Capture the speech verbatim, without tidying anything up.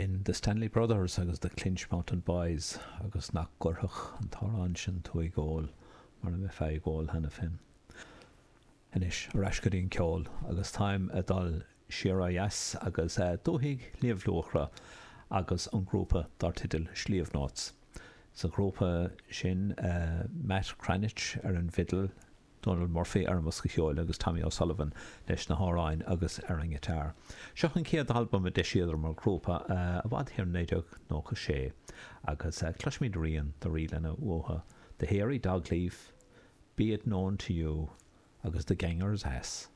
B'in The Stanley Brothers agus The Clinch Mountain Boys agus nach gcuirfeadh an t-amhrán sin tú ag ól mura mbeifeá ag ól cheana féin. Anois, ar ais go dtí an ceol agus táim ag dul siar ó dheas agus dúthaigh Shliabh Luachra agus an grúpa dar teideal Sliabh Notes. Sa ghrúpa sin Matt Cranitch ar an bhfidil, Donal Murphy ar an mbosca ceoil agus Tommy O'Sullivan leis na hamhráin agus ar an ngiotár. Seo an chéad albam a d'eisíodar mar ghrúpa i bhfad thiar in naoi déag nócha sé agus cloisfimid rian de ríleanna uathu, The Hairy Dogleaf, Be It Known To You agus The Ganger's Ass.